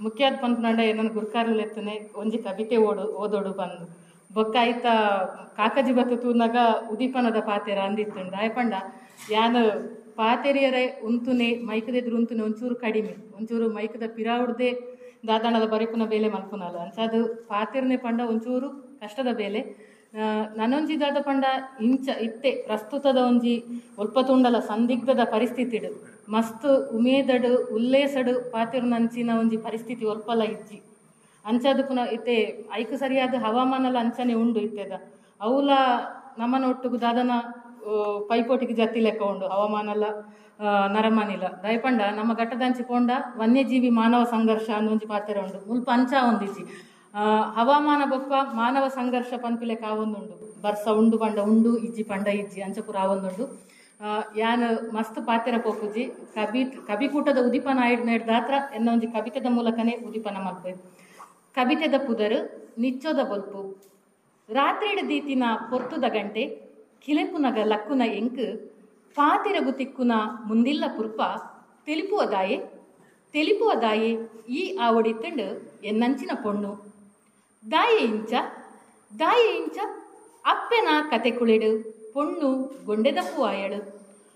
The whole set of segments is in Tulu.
ಮುಖ್ಯಾದ ಪನ್ಪುನಾಂಡ ಎನ್ನನ್ ಗುರ್ಕಾರ್ಲು ಲೆತ್ತನೆ ಒಂಜಿ ಕಬಿತೆ ಓಡು ಓದೊಡು ಪಂದ್ ಬೊಕ್ಕ ಐತ ಕಾಕಜಿ ಬತ್ತು ತೂನಗ ಉದೀಪನದ ಪಾತೆರ ಅಂದಿತ್ತುಂಡು. ದಾಯೆ ಪಂಡ ಯಾನ್ ಪಾತೆರಿಯರೆ ಉಂತುನೆ ಮೈಕದೆದುರು ಉಂತುನೆ ಒಂಚೂರು ಕಡಿಮೆ, ಒಂಚೂರು ಮೈಕದ ಪಿರಾವುಡ್ದೆ ದಾದಾಣದ ಬರೆಪುನ ಬೇಲೆ ಮಲ್ಪುನಲ್ಲ. ಅಂಚಾದ್ ಪಾತೆರ್ನೆ ಪಂಡ ಒಂಚೂರು ಕಷ್ಟದ ಬೇಲೆ. ನನೊಂಜಿ ದಾದ ಪಂಡ ಇಂಚ ಇತ್ತೆ ಪ್ರಸ್ತುತದ ಒಂಜಿ ಒಲ್ಪ ತೂಂಡಲ ಸಂದಿಗ್ಧದ ಪರಿಸ್ಥಿತಿಡು ಮಸ್ತ್ ಉಮೇದಡು ಉಲ್ಲೇಸಡು ಪಾತೆರ್ನಂಚಿನ ಒಂಜಿ ಪರಿಸ್ಥಿತಿ ಒಲ್ಪಲ ಇಜ್ಜಿ. ಅಂಚಾದ್ ಪುನ ಇತ್ತೆ ಐಕ್ ಸರಿಯಾದ ಹವಾಮಾನಲ ಅಂಚನೆ ಉಂಡು ಇತ್ತೆದ. ಅವುಲ ನಮನ ಒಟ್ಟುಗು ದಾದನ ಪೈಪೋಟಿಗೆ ಜತ್ತಿ ಲೆಕ್ಕ ಉಂಡು ಹವಾಮಾನಲ ನರಮಾನಿಲ. ದಾಯೆ ಪಂಡ ನಮ್ಮ ಘಟ್ಟದಂಚಿ ಪೋಂಡ ವನ್ಯಜೀವಿ ಮಾನವ ಸಂಘರ್ಷ ಅಂದೊಂಜಿ ಪಾತೆರ ಉಂಡು. ಮುಲ್ಪ ಅಂಚ ಒಂದಿಜ್ಜಿ. ಹವಾಮಾನ ಬೊಕ್ಕ ಮಾನವ ಸಂಘರ್ಷ ಪನ್ಪಿ ಲೆಕ್ಕ ಆವೊಂದುಂಡು. ಬರ್ಸ ಉಂಡು ಪಂಡ ಉಂಡು, ಇಜ್ಜಿ ಪಂಡ ಇಜ್ಜಿ, ಅಂಚ ಪೂರ ಆವೊಂದುಂಡು. ಯಾನ್ ಮಸ್ತ್ ಪಾತೆರ ಪೋಪುಜಿ. ಕವಿಕೂಟದ ಉದಿಪನ ಆಯ್ಡ್ದಾತ್ರ ಎನ್ನ ಒಂಜಿ ಕವಿತೆದ ಮೂಲಕನೇ ಉದಿಪನ ಮಲ್ಪೆ. ಕವಿತೆದ ಪುದರ್ ನಿಚ್ಚೊದ ಬೊಲ್ಪು. ರಾತ್ರಿಡ್ ದೀತಿನ ಪೊರ್ತುದ ಗಂಟೆ ಕಿಲೆಪುನಗ ಲಕ್ಕುನ ಎಂಕ್ ಪಾತೆರಗು ತಿಕ್ಕುನ ಮುಂದಿಲ್ಲ ಪುರ್ಪ ತೆಲಿಪುವ ದಾಯೆ ತೆಲಿಪುವ ದಾಯೆ ಈ ಆವಡಿತ್ತಂಡು ಎನ್ನಂಚಿನ ಪೊಣ್ಣು. ದಾಯೆ ಇಂಚ ದಾಯೆ ಇಂಚ ಅಪ್ಪೆನ ಕತೆ ಕುಳಿಡು ಪೊಣ್ಣು ಗೊಂಡೆದಪ್ಪು ಆಯಳು,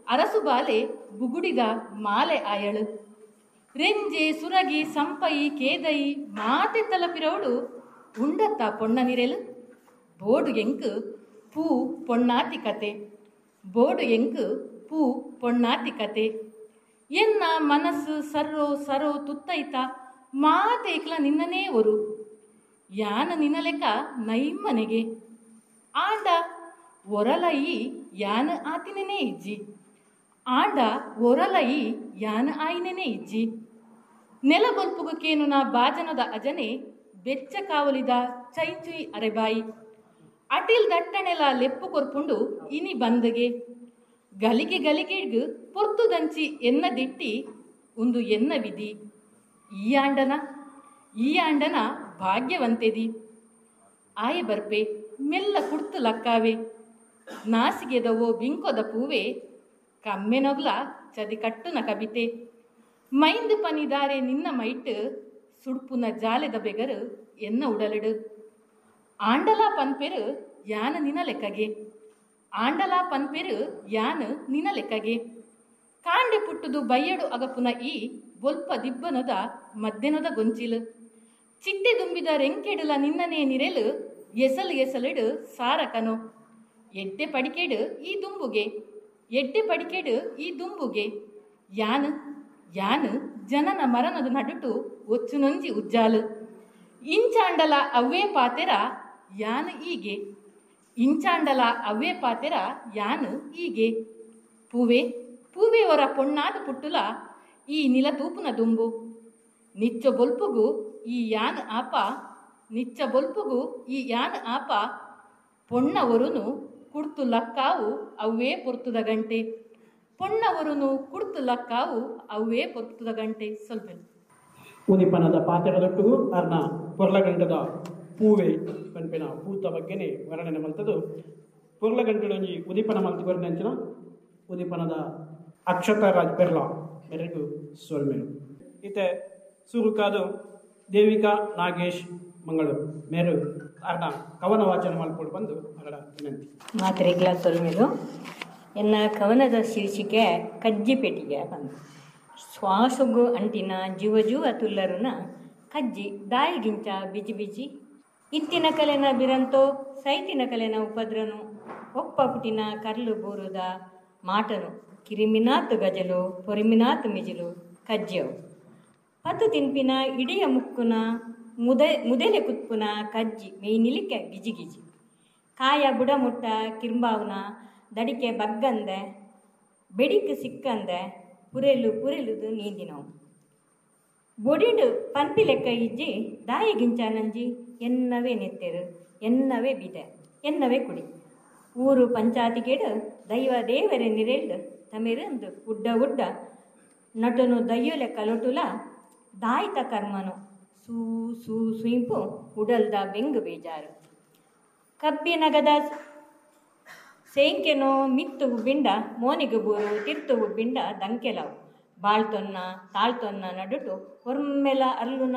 ಅರಸು ಬಾಲೆ ಬುಗುಡಿದ ಮಾಲೆ ಆಯಳು. ರೆಂಜೆ ಸುರಗಿ ಸಂಪಯಿ ಕೇದಯಿ ಮಾತೆ ತಲಪಿರವಳು ಉಂಡತ್ತ ಪೊಣ್ಣ ನಿರೆಲು. ಬೋಡು ಎಂಕ್ ಪೂ ಪೊಣ್ಣಾತಿ ಕತೆ, ಬೋಡು ಎಂಕ್ ಪೂ ಪೊಣ್ಣಾತಿ ಕತೆ. ಎನ್ನ ಮನಸ್ಸು ಸರ್ರೋ ಸರೋ ತುತ್ತೈತ ಮಾತೇಕ್ಲ ನಿನ್ನನೇ ಒರು, ಯಾನ ನಿನಲೆಕ ನೈಮ್ಮನೆಗೆ. ಆಂಡ ಒರಲ ಈ ಯಾನ ಆತಿನೇ ಇಜ್ಜಿ, ಆಂಡ ಒರಲ ಈ ಯಾನ ಆಯಿನೇ ಇಜ್ಜಿ. ನೆಲ ಬೊಲ್ಪುಗು ಕೇನುನ ಬಾಜನದ ಅಜನೆ ಬೆಚ್ಚ ಕಾವಲಿದ ಚೈಚುಯಿ ಅರೆಬಾಯಿ. ಅಟಿಲ್ ದಟ್ಟಣೆಲ ಲೆಪ್ಪು ಕೊರ್ಪುಂಡು ಇನಿ ಬಂದಗೆ. ಗಲಿಗೆ ಗಲಿಗೆಗ್ ಪೊರ್ತುದಂಚಿ ಎನ್ನ ದಿಟ್ಟಿ ಉಂದು ಎನ್ನ ವಿಧಿ. ಈ ಆಂಡನ ಈ ಆಂಡನ ಭಾಗ್ಯವಂತೆದಿ. ಆಯೆ ಬರ್ಪೆ ಮೆಲ್ಲ ಕುಡ್ತು ಲಕ್ಕಾವೆ, ನಾಸಿಗೆದವೋ ಬಿಂಕೊದ ಪೂವೆ ಕಮ್ಮೆನೊಗ್ಲ ಚದಿ ಕಟ್ಟುನ ಕಬಿತೆ. ಮೈಂದು ಪನಿದಾರೆ ನಿನ್ನ ಮೈಟ್ ಸುಡ್ಪುನ ಜಾಲೆದ ಬೆಗರು ಎನ್ನ ಉಡಲಿಡು. ಆಂಡಲಾ ಪನ್ಪೆರು ಯಾನ ನಿನ ಲೆಕ್ಕಗೆ, ಆಂಡಲಾ ಪನ್ಪೆರು ಯಾನ ನಿನ ಲೆಕ್ಕಗೆ. ಕಾಂಡೆ ಪುಟ್ಟುದು ಬಯ್ಯಡು ಅಗಪುನ ಈ ಬೊಲ್ಪ ದಿಬ್ಬನದ ಮದ್ದೆನದ ಗೊಂಚಿಲು. ಚಿಟ್ಟೆ ದುಂಬಿದ ರೆಂಕೆಡುಲ ನಿನ್ನನೇ ನಿರೆಲು ಎಸಲು ಎಸಲಿಡು ಸಾರಕನು. ಎಡ್ಡೆ ಪಡಿಕೆಡು ಈ ದುಂಬುಗೆ, ಎಡ್ಡೆ ಪಡಿಕೆಡು ಈ ದುಂಬುಗೆ. ಯಾನು ಯಾನು ಜನನ ಮರಣದ ನಡುಟು ಒಚ್ಚುನೊಂಜಿ ಉಜ್ಜಾಲು. ಇಂಚಾಂಡಲ ಅವ್ವೇ ಪಾತೆರ ಯಾನು ಈಗೆ, ಇಂಚಾಂಡಲ ಅವ್ವೇ ಪಾತೆರ ಯಾನು ಈಗೆ. ಪೂವೆ ಪೂವೆ ಒರ ಪೊಣ್ಣಾದ ಪುಟ್ಟುಲ ಈ ನಿಲ ತೂಪುನ ದುಂಬು. ನಿಚ್ಚ ಬೊಲ್ಪುಗು ಈ ಯಾನ್ ಆಪ, ನಿಚ್ಚ ಬೊಲ್ಪುಗು ಈ ಯಾನ್ ಆಪ. ಪೊಣ್ಣ ಒರುನು ಕುಡ್ತು ಲಕ್ಕಾವು ಅವ್ವೇ ಪೊರ್ತುದ ಗಂಟೆ, ಪೊಣ್ಣ ಒರುನು ಕುಡ್ತು ಲಕ್ಕಾವು ಅವ್ವೇ ಪೊರ್ತುದ ಗಂಟೆ. ಸ್ವಲ್ಪ ಉದಿಪನದ ಪಾತೆರದೊಟ್ಟುಗು ಅರ್ನ ಪೊರ್ಲಗಂಟದ ಪೂವೆ ಪನ್ಪಿನ ಪೂತ ಬಗ್ಗೆನೆ ವರ್ಣನೆ ಮಲ್ತದು. ಪೊರ್ಲಗಂಟದೊಂಜಿ ಉದಿಪನ ಮಲ್ತಿ ಕೊರ್ನಂಚಿನ ಉದಿಪನದ ಅಕ್ಷತ ರಾಜ್ ಪೆರ್ಲಾ ಮೆರೆಗು ಸೊಲ್ಮೆಲು. ಇತ್ತೆ ಸುರುಕಾದು ದೇವಿಕಾ ನಾಗೇಶ್ ಮಂಗಳೂರು ಮೇರು ಅರ್ನ ಕವನ ವಾಚನ ಮಲ್ಪೋಡು ಬಂದು ಅವರ ವಿನಂತಿ. ಮಾತ್ರೆಗ್ಲ ಸೊಲ್ಮೆಲು. ಎನ್ನ ಕವನದ ಶೀರ್ಷಿಕೆ ಕಜ್ಜಿ ಪೆಟ್ಟಿಗೆ ಬಂದು. ಶ್ವಾಸಗು ಅಂಟಿನ ಜೀವ ಜೀವ ತುಲ್ಲರುನ ಕಜ್ಜಿ ದಾಯಿಗಿಂಚ ಬಿಜಿ ಬಿಜಿ. ಇತ್ತಿನ ಕಲೆನ ಬಿರಂತೋ ಸೈತಿನ ಕಲೆನ ಉಪದ್ರನು ಒಪ್ಪ ಪುಟಿನ ಕರ್ಲು ಬೂರುದ ಮಾಟನು ಕಿರಿಮಿನಾತ್ ಗಜಲು ಪೊರಿಮಿನಾತ್ ಮಿಜಿಲು ಕಜ್ಜಿಯವು. ಪತ್ತು ತಿನ್ಪಿನ ಇಡಿಯ ಮುಕ್ಕುನ ಮುದೆಲೆ ಕುತ್ಪುನ ಕಜ್ಜಿ ಮೇಯ್ನಿಲಿಕ್ಕೆ ಗಿಜಿ ಗಿಜಿ. ಕಾಯ ಬುಡಮುಟ್ಟ ಕಿರ್ಂಬಾವುನ ದಡಿಕೆ ಬಗ್ಗಂದೆ ಬೆಡಿಕ್ ಸಿಕ್ಕಂದೆ ಪುರೆಲು ಪುರೆಲುದು ನೀಂದಿನವು. ಬೊಡಿಂಡು ಪನ್ಪಿ ಲೆಕ್ಕ ಇಜ್ಜಿ ದಾಯಿ ಗಿಂಚಾನಂಜಿ ಎನ್ನವೇ ನೆತ್ತೆರು ಎನ್ನವೇ ಬಿದೆ ಎನ್ನವೇ ಕುಡಿ. ಊರು ಪಂಚಾತಿಗೇಡು ದೈವ ದೇವರೇ ನಿರೆಲ್ಡು ತಮಿರಂದು ಉಡ್ಡ ಉಡ್ಡ ನಟನು ದಯ್ಯೊಲೆ ಕಲೊಟುಲ ದಾಯಿತ ಕರ್ಮನು ಸೂ ಸೂ ಸುಯಿಂಪು ಉಡಲ್ದ ಬೆಂಗು ಬೇಜಾರು. ಕಬ್ಬಿನಗದ ಸೇಂಕೆನೋ ಮಿತ್ತು ಉಬ್ಬಿಂಡ ಮೋನಿಗು ಬೂರು ತಿರ್ತು ಉಬ್ಬಿಂಡ ದಂಕೆಲವು. ಬಾಳ್ತೊನ್ನ ತಾಳ್ತೊನ್ನ ನಡುಟು ಒರ್ಮೆಲ ಅರ್ಲುನ